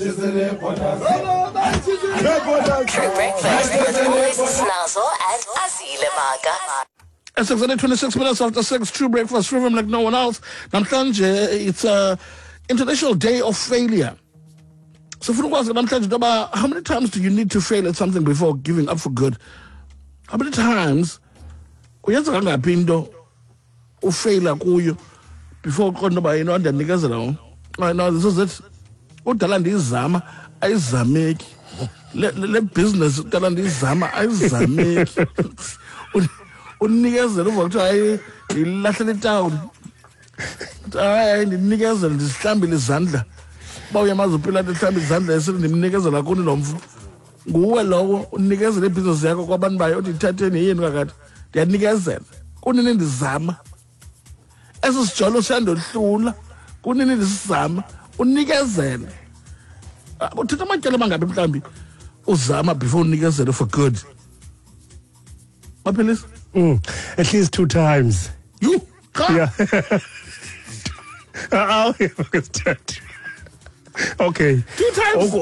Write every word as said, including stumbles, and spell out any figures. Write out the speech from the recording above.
True Breakfast with Always Snazo and Azile Maga. At six twenty-six minutes after six, True Breakfast, rhythm like no one else. Namhlanje, it's a International Day of Failure. So, funa ukwazi namhlanje into yoba how many times do you need to fail at something before giving up for good? How many times uyenza kangaphi into ufeyila kuyo before uqonda uba you know ndiyanikezela ngoku? Right, no, this is it. Kudala ndiyizama ayizameki. Le le le business kudala ndiyizama ayizameki. Unikezela uva kuthiwa hayi ndilahlela itawuli. Hayi ndinikezele ndizihlambile izandla. Uba uyamazi uPilato ehlamba izandla esithi ndimnikezela kuni lo mfo. Nguwe lowo unikezela ibhizinesi yakho kwabantu bayo uthi ithatheni yeyenu kakade. Ndiyanikezela. Kunini ndizama. Eso sijolo siyandohlula. Kunini ndisizama. Unikezele. Uthatha amatyala amangaphi mhlawumbi uzama before unikezele for good? Maphilisi? Mm, at least two times. You? Cha. Yeah. Uh, okay. Two times? Oku-